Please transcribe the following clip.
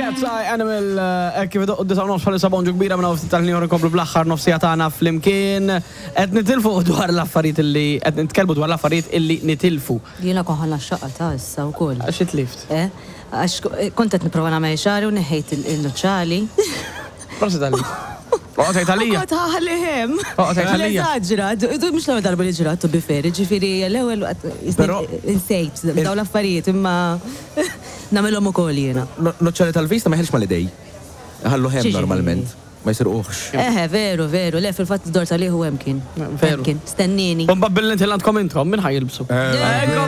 Cats Eye Animal, hekk kif idoqqu d-disgħa u nofs bħalissa bonġu kbira minn hawn ftit tal-ħin inkomplu bl-aħħar nofsija tagħna flimkien. Qed nitilfu dwar l-affarijiet illi qed nitkellmu dwar l-affarijiet illi nitilfu. Jiena kont ħa naxxaqha ta' issa wkoll. Għax itlift? Eh, għax kont qed nipprova nagħmel xagħri u neħħejt il-nuċċali. Prosit għalik. Oqgħod tgħid għalija. Kont ħaħli hemm. Oqgħod tgħid għalija. Eżaġra, mhux l-ewwel darba li ġrat to be fair, ġifieri l-ewwel insejt dawn l-affarijiet imma nagħmilhom ukoll jiena. Nuċċali tal-vista ma jeħilx mal-idej. Iħalluh hemm normalment. Ma jisirquhx. Eħe, veru, veru. Le, fil-fatt dort għalih u hemm kien. Veru. Kien. Stennini. U mbagħad billi inti għandkom intom, min ħa jilbsu?